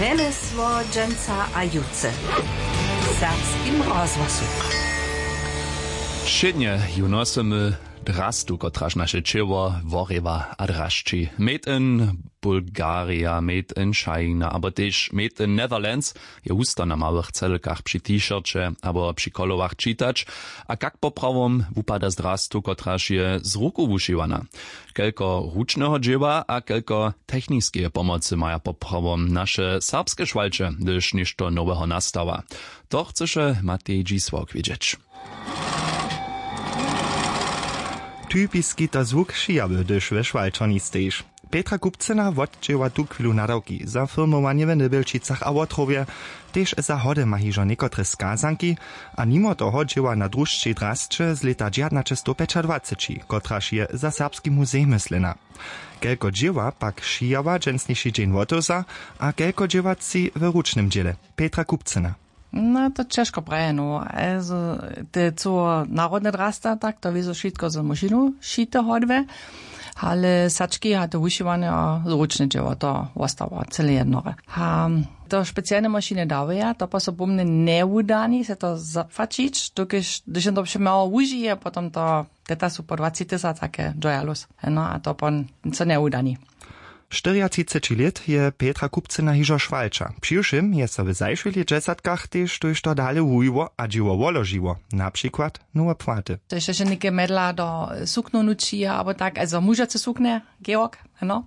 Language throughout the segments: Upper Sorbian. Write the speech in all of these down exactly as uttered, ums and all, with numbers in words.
Rjemjesło dźensa a jutře w serbskim rozhłosu. Wšědnje ju nosymy drastu, kotraž naše ćěło worěwa a drašći. Made in Bulgaria, made in China abo tež made in Netherlands je husto na małych celkach při t-shirće abo při kolowach čitać. A kak poprawom wupada z drastu, kotraž je z ruku wušiwana? Kelko ručneho dźěła a kelko techniskeje pomocy maja poprawom naše serbske šwalće, hdyž něšto noweho nastawa? To chcyše Matej Dźisławk wědźeć. Typiski to zwuk šijawy, hdyž we šwalčerni stejiš. Petra Kupcyna wotdźěła tuchwilu nadawki za firmowanje w Nybjelčicach a Wotrowje. Tež za hody ma hižo někotre skazanki. A nimo toho dźěła na drušćej drasće z lěta dźewjatnaćestowpjećadwaceći, kotraž je za serbski muzej myslena. Kelko dźěła pak šijała dźensniši dźeń wotewza a kelko dźěła tři w ručnym dźěle? Petra Kupcyna. No to ćežko prajeno, also te cyło narodne drasta, tak to wězo wšitko z mašinu šite hodwe. Ale sački a to wušiwanje a zručne dźěło, to wostało cyle jednore. A to specialne mašiny dawaja, to pa so po mnje njewudani se to zapłaćić, dokelž hdyž jen to přemało wužije, potom to teta su po dwaci tysac take joyalus. No a to pon co njewudani. Štyriatřiceći lět je Petra Kupcyna hižo šwalča. Přiwšěm je so w zašłych lětdźesatkach tež tójšto dale wujiło a dźěło woložiło, na přikład nowe płaty. To je še něke medla do suknow nući abo tak, also mužace suknje, georg, no.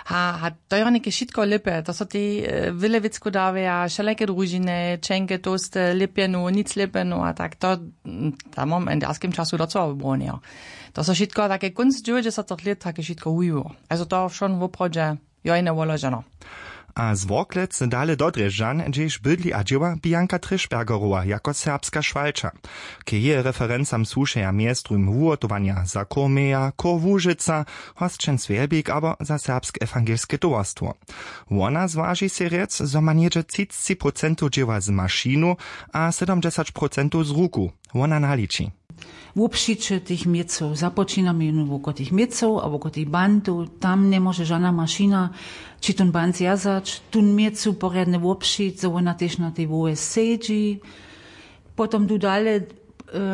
A, a to je něke wšitko lěpe, to so tej wjele wěcku dawaja, wšelake družiny, čenke, tołste, lěpjenu, nic lěpjenu a tak to, tam mam w indiaskim času docoła wybrowneho. To so wšitko take kónc dźewjećdźesatych lět take wšitko wujiło. Also to wšon woprawdźe jo jene woloženo. A z worklec dale do drježdźan, hdźež bydli a dźěła bianka trišbergerowa jako serbska šwalča. K jeje referencam słušeja mjestrujm wuhotowanja za chór meja, chór łužica, hosćen swjelbik abo za serbske ewangelske towarstwo. Wona zwaži sej rjec, zo ma něhdźe třicci procentow dźěła z mašinu a sydomdźesać procentow z ruku. Wona naliči. Wobšiće tych měcow započinamy jónu woko tych měcow a woko tych bantow, tam njemóže žana mašina ći tón bant zwjazać, tón měcu porjadnje wobšić zo wona tež na tej wołe sedźi. Potom du dale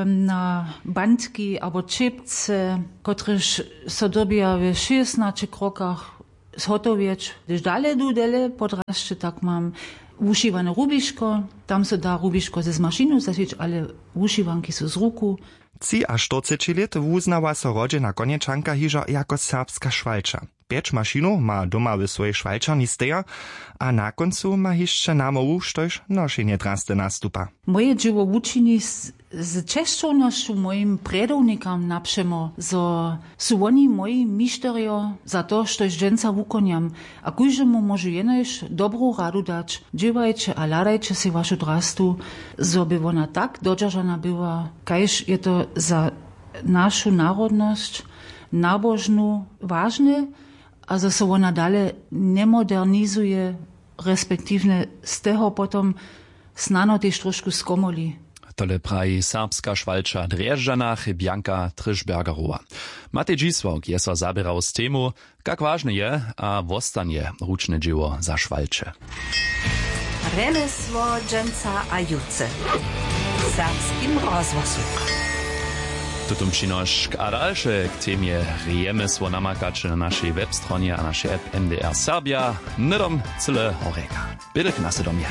na bantki abo čěpce, kotrež so dyrbja w šěsnaće krokach zhotowjeć. Hdyž dale du dele podrasće, tak mam wušiwane rubiško. Tam so da rubiško z mašinu zašić, ale wušiwanki su z ruku. Třiaštyrceći lět wuznała so rodźena konječanka hižo jako serbska šwalča. Pjeć mašinow ma doma w swojej šwalčerni steja. A na kóncu ma hišće namołwu, štož nošenje drasty nastupa. Moje dźěło wučini z česćownosću mojim prjedownikam napřemo, zo su woni moji mišterjo za to, štož dźensa wukonjam. A kóždemu móžu jenož dobru radu dać: dźěłajće a hladajće sej wašu drastu, zo by wona tak dodźeržana była, kaž je to za našu narodnosć nabožnu wažne, a zo so wona dale njemodernizuje, respektiwnje z toho potom snano tež trošku skomoli. Tole praji serbska šwalča w drježdźanach, bianka trišbergerowa. Matej dźisławk je so zaběrał z temu, kak wažne je a wostanje ručne dźěło za šwalče. Rjemjesło dźensa a jutře w serbskim rozhłosu. Tutón přinošk a dalše k temje rjemjesło namakaće na našej webstronje a našej app. N D R Serbja. Hnydom cyle horjeka, bědek na sydomje.